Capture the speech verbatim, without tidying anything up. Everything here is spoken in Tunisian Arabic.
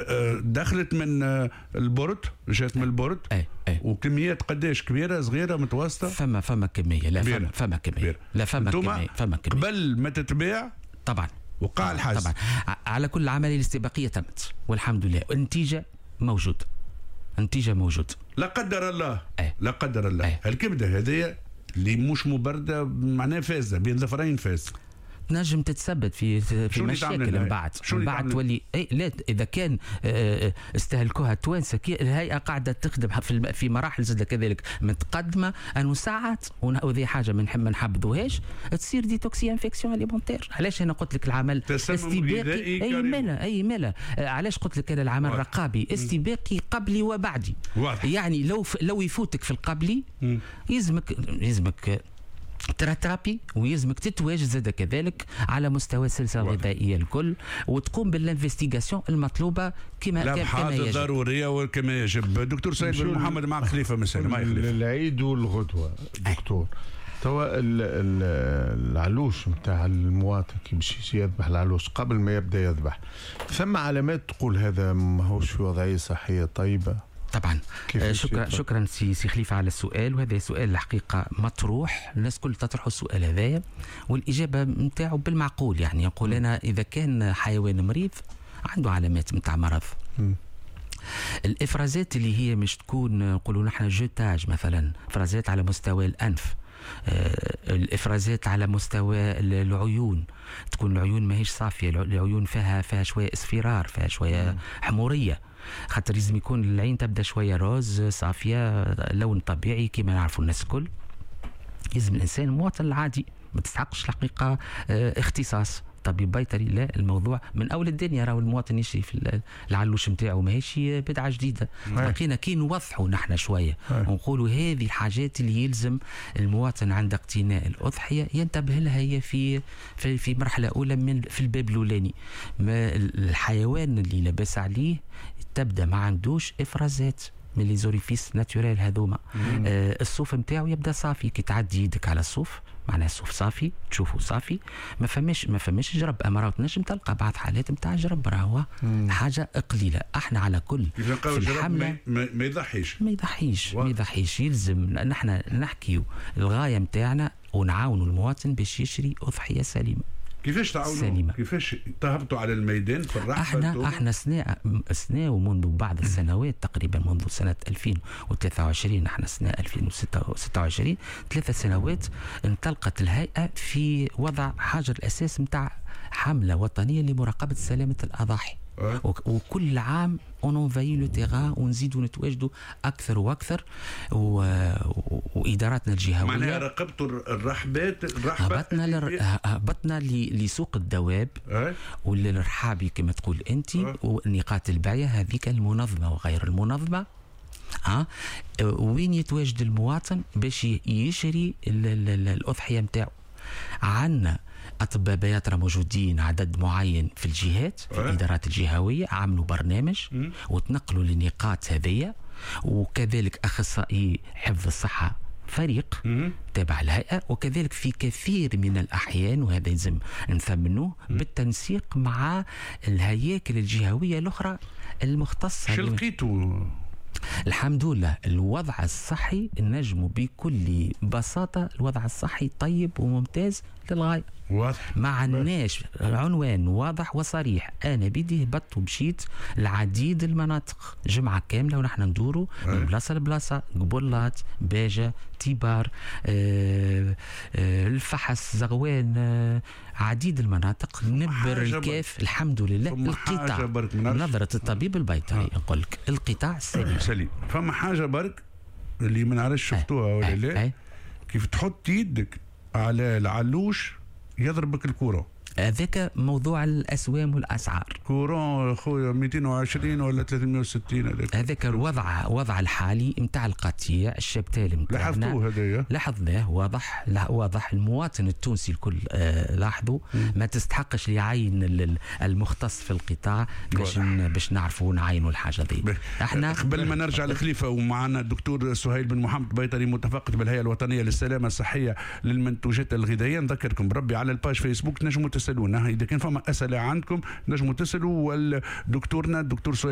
آه، دخلت من آه، ال port، جات من ال port. اي اي. وكميات قداش؟ كبيره، صغيره، متوسطه؟ فما فما كميه، لا فما فما كميه، لا فما كميه، فما كميه. قبل ما تتباع طبعا. وقع الحجز. طبعا، على كل العملية الاستباقيه تمت والحمد لله، النتيجة موجود، النتيجة موجود. لا قدر الله. أي. لا قدر الله. أي. الكبده هذه اللي مش مبرده معناها فاسده، بين ظفرين فاسد. تنجم تتسبب في في مشاكل من بعد، من بعد تولي اي لا، اذا كان آه، آه، استهلكوها التوانسه. الهيئة قاعدة تخدم في في مراحل زاد كذلك متقدمه، انه ساعات، وهذه حاجة ما نحبذوهاش، تصير des toxi-infections alimentaires. علاش انا قلت لك العمل استباقي؟ اي مالا، اي مالا، آه، علاش قلت لك انا العمل الرقابي استباقي قبلي وبعدي؟ واضح. يعني لو لو يفوتك في القبلي يلزمك يلزمك ت rattraper، ويلزمك تتواجد زاد كذلك على مستوى السلسلة الغذائية الكل وتقوم بال investigation المطلوبة كما كما يجب، الضرورية وكما يجب. دكتور سيد بن محمد، مع خليفة مثلا، مع خليفه. العيد والغدوه دكتور، توا العلوش نتاع المواطن كي باش يذبح العلوش، قبل ما يبدا يذبح ثم علامات تقول هذا ماهوش في وضعية صحية طيبه؟ طبعا، آه، شكرا شكرا سي سي خليفة على السؤال، وهذا سؤال الحقيقة مطروح، الناس كل تطرح السؤال هذايا، والاجابة نتاعو بالمعقول، يعني يقول انا اذا كان حيوان مريض عنده علامات نتاع مرض، م. الافرازات اللي هي مش تكون نقولوا نحن jetage مثلا، افرازات على مستوى الانف، آه، الافرازات على مستوى العيون، تكون العيون ماهيش صافيه، العيون فيها فيها شوية اصفرار، فيها شوية حموريه، خاطر لازم يكون العين تبدا شوية rose، صافيه، لون طبيعي كما نعرفوا الناس الكل. لازم الانسان المواطن العادي، ما تستحقش الحقيقة آه، اختصاص طبيب بيطري، لا، الموضوع من اول الدنيا راهو المواطن يشري في العلوش نتاعو، ماهيش بدعة جديده. لقينا كي نوضحوا نحن شوية ونقولوا هذه الحاجات اللي يلزم المواطن عند اقتناء الاضحية ينتبه لها، هي في في, في مرحلة اولى من في الباب الاولاني، ما الحيوان اللي لاباس عليه تبدا ما عندوش افرازات من les orifices naturels هذوما، آه الصوف نتاعو يبدا صافي، كي تعدي يدك على الصوف معناها الصوف صافي، تشوفه صافي، ما فماش ما فماش جرب. اما راهو تنجم تلقى بعض حالات نتاع جرب، راهو حاجة قليله. احنا على كل في الحملة ما, ما يضحيش. ما يضحيش، ما يضحيش. يلزم نحن نحكيو الغاية نتاعنا ونعاونوا المواطن باش يشري اضحية سليمه. كيفاش تعاونوا؟ كيفاش تهبطوا على الميدان في الرحبه؟ احنا احنا سنة سنة ومنذ بعض السنوات، تقريبا منذ سنة ألفين وثلاثة وعشرين، احنا سنة ألفين وستة وعشرين، ثلاث سنوات، انطلقت الهيئة في وضع حجر الاساس نتاع حمله وطنية لمراقبه سلامه الاضاحي. أه. وكل عام on envahit le terrain ونزيدوا نتواجدوا اكثر واكثر و... واداراتنا الجهويه. معناها راقبتوا الرحبات؟ الرحبه هبطنا لر... هبطنا ل... لسوق الدواب. أه؟ وللرحابي كما تقول انت. أه؟ ونقاط البيع هذيك المنظمة وغير المنظمه، ها وين يتواجد المواطن باش يشري الاضحية نتاعو. عندنا اطباء بياطره موجودين عدد معين في الجهات، في الادارات الجهويه، عملوا برنامج وتنقلوا للنقاط هذية، وكذلك اخصائي حفظ الصحه، فريق تابع الهيئة، وكذلك في كثير من الأحيان، وهذا يلزم نثمنوه، بالتنسيق مع الهياكل الجهوية الأخرى المختصة. شو لقيتوا؟ الحمد لله، الوضع الصحي نجم بكل بساطة الوضع الصحي طيب وممتاز للغاية. واضح. ما عندناش عنوان واضح وصريح. انا بيدي هبطت ومشيت العديد المناطق، جمعه كاملة ونحن ندوروا من بلاصة لبلاصه، قبلات، باجه، تيبار، آه، آه، الفحص، زغوان، آه، عديد المناطق، نبر، الكاف. الحمد لله القطاع، نظرة الطبيب البيطري نقول لك القطاع سليم. سليم. فما حاجة برك اللي ما نعرفش شفتوها ولا لا، كيف تحط يدك على العلوش يضربك ال courant. هذاك موضوع الاسوام والاسعار. courant خويا، ميتين وعشرين ولا ثلاثمية وستين. هذاك هذاك الوضع وضع الحالي نتاع القطيع ال cheptel نتاعنا. لاحظتوه هذايا؟ لاحظناه، واضح، لا واضح، المواطن التونسي الكل آه لاحظوا. ما تستحقش لعين المختص في القطاع باش باش نعرفوا نعينوا الحاجة دي. احنا قبل ما نرجع لخليفه ومعنا الدكتور سهيل بن محمد، بيطري متفقد بالهيئة الوطنية للسلامة الصحية للمنتوجات الغذائيه، نذكركم بربي على ال page فيسبوك تنجموا تسالونا اذا كان فما اسئلة عندكم، نجموا تسالوا والدكتورنا الدكتور سهيل.